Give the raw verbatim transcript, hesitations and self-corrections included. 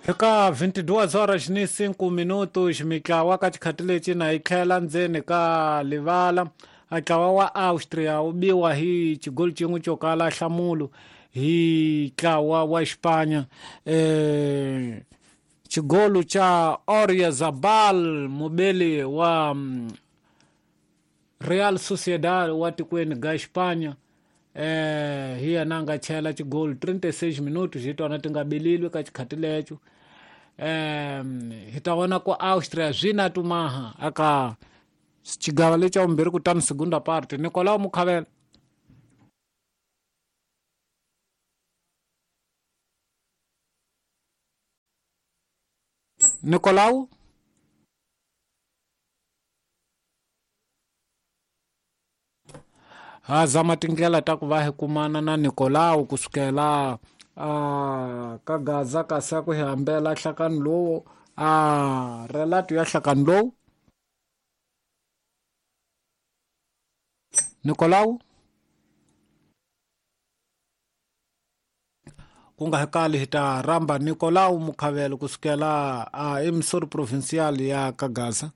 Eka vinte e duas horas ni cinco minutos mitlawa ka xikhati lexi na yi tlhela ndzeni ka livala. Ntlawa wa Austria wu biwa hi xigoli xin'we xo kala nhlamulo hi ntlawa wa Xipanya, eh xigolo xa Oyarzabal, mubeli wa Real Sociedad wa tikweni ga Xipanya, eh hi yena a nga chela xigolo trinta e seis minutos hi tona ti nga belilwe ka xikhati lexo. eh hi ta vona ku Austria swi na tumaha aka xigava lexa vumbirhi, kutani segunda parte. Nicolau Mukhavela. Nicolau ha zama tindlela ta ku va hi kumana na Nicolau kusukela a ka Gaza kasi a ku hi hambela nhlakano lowu a relato ya nhlakano lowu. Nicolau ku nga kali hi ta rhamba Nicolau Mukhavelo kusukela a emisori provincial ya Kagaza.